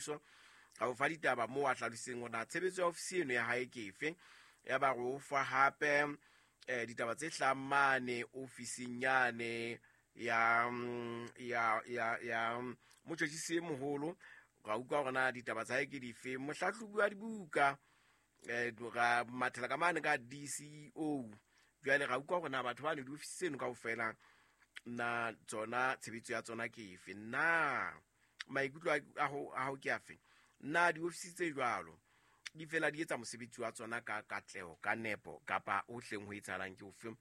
Mmuso a o fa ditaba moo a hlalositseng hore na tshebetso ya ofisi eno ya hae ke efe. Ya ba re o fa hape ditaba tse hlahang mane ofising yane ya ya ya ya motjhotjhisi e moholo, ra utlwa hore na ditaba tsa hae ke dife. Mohlahlobi wa dibuka ra mathela ka mane ka DCEO, jwale ra utlwa hore na batho ba ne diofisi tseno kaofela na tsona tshebetso ya tsona ke efe, na maikutlo a hao ke afe, na diofisi tse jwalo di fela di etsa mosebetsi wa tsona ka katleho, ka nepo, kapa o hleng ho etsahalang ke ofe?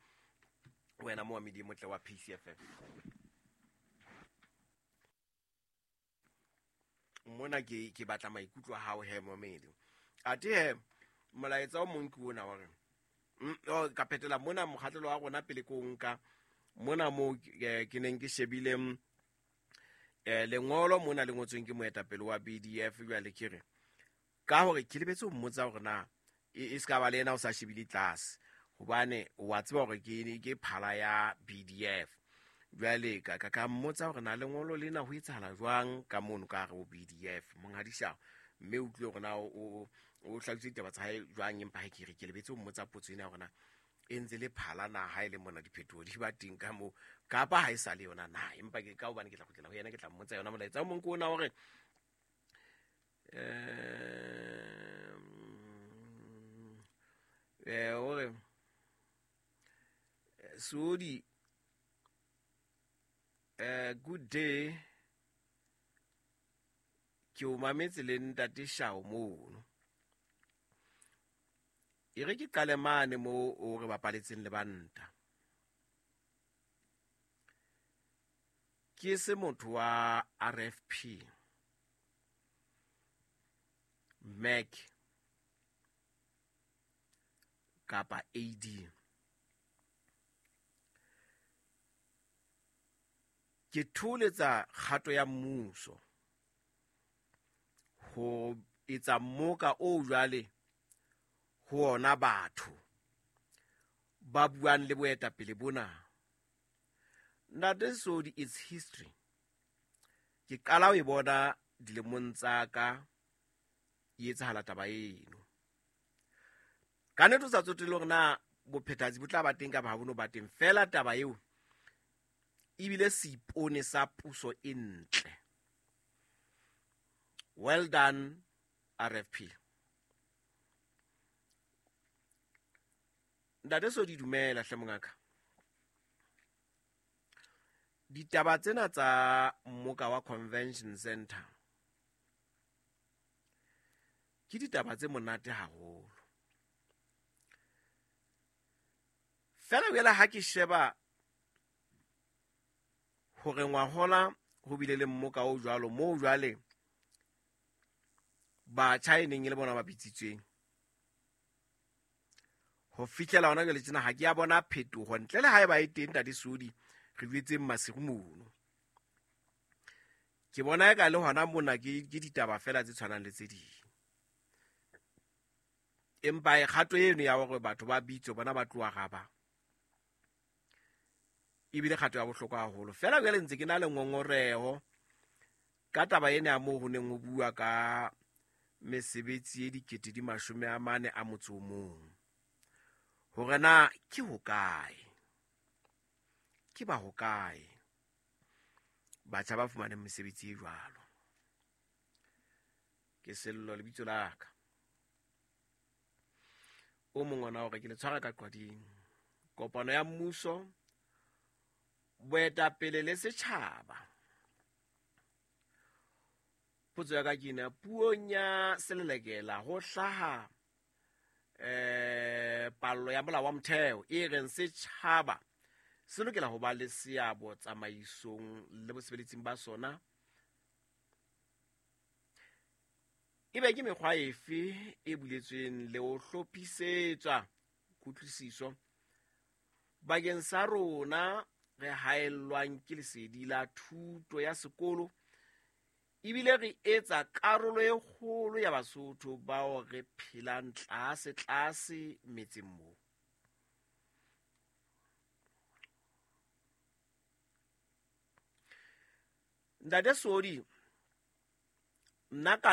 Wena moamedi e motle wa PCFM, mona ke batla maikutlo a hao he momedi. Athe he molaetsa o mong ke ona hore ka phetela mona mokgatlelo wa rona pele ko nka mona moo ke neng ke shebile lengolo mona le ngotsweng ke moetapele wa BDF. Jwale ke re ka hore ke lebetse ho mmotsa hore na e se ka ba le yena o sa shebile tlase, hobane wa tseba hore ke phala ya BDF. Jwale ka mmotsa hore na lengolo lena ho etsahala jwang ka mono ka hare ho BDF, monghadi Shao, mme o utlwile hore na o hlalositse ditaba tsa hae jwang. Empa ha ke re ke lebetse ho mmotsa potso ena hore na e ntse le phala na ha e le mona diphetoho di ba teng ka moo, kapa ha e sa le yona na. Empa ke ka hobane ke tla kgutlela ho yena, ke tla mmotsa yona. Molaetsa o mong ke ona hore hore Sodi, good day, ke o mametse le ntate Shao mono. E re ke qale mane mo o re bapaletseng lebanta. Ke se motho wa RFP, MAC kapa AD. Ke thoholetsa kgato ya mmuso ho etsa mmoka o jwale ho ona batho ba buang le boetapele bona. Ntate Sodi, it's history. Ke qala ho e bona dilemong tsa ka e etsahala taba eno. Ka nnete o sa tsotelle hore na bophethahatsi bo tla ba teng kapa ha bo no ba teng, feela taba eo ebile seipone sa puso e ntle. Well done RFP. Ntate Sodi, dumela hle mongaka. Ditaba tsena tsa mmoka wa Convention Center ke ditaba tse monate haholo. Fela jwale ha ke sheba hore ngwahola ho bile le mmoka o jwalo moo jwale batjha e neng e le bona ba bitsitsweng ho fihlela hona jwale tjena, ha ke ya bona phetoho ntle le haeba e teng. Ntate Sodi, re jwetseng masiru mono, ke bona eka le hona mona ke ditaba fela tse tshwanang le tse ding. Empa e kgato eno ya hore batho ba bitswe bona ba tloha raba ebile kgato ya bohlokwa haholo. Fela jwale ntse ke na le ngongoreho ka taba ena ya moo ho neng ho bua ka mesebetsi e 441, hore na ke hokae, ke ba hokae batjha ba fumaneng mesebetsi e jwalo. Ke Sello lebitso la ka. O mong ona hore ke le tshwara ka qwading. Kopano ya mmuso, boetapele le setjhaba. Potso ya ka ke ena, puong ya selelekela ho hlaha pallo ya molao wa motheo e reng setjhaba se lokela ho ba le seabo tsamaisong le bosebeletsing ba sona. Ebe ke mekgwa efe e buletsweng le ho hlophisetswa kutlwisiso bakeng sa rona re haellwang ke lesedi la thuto ya sekolo, ebile re etsa karolo e kgolo ya Basotho bao re phelang tlase tlase metseng moo. Ntate Sodi, Nna ka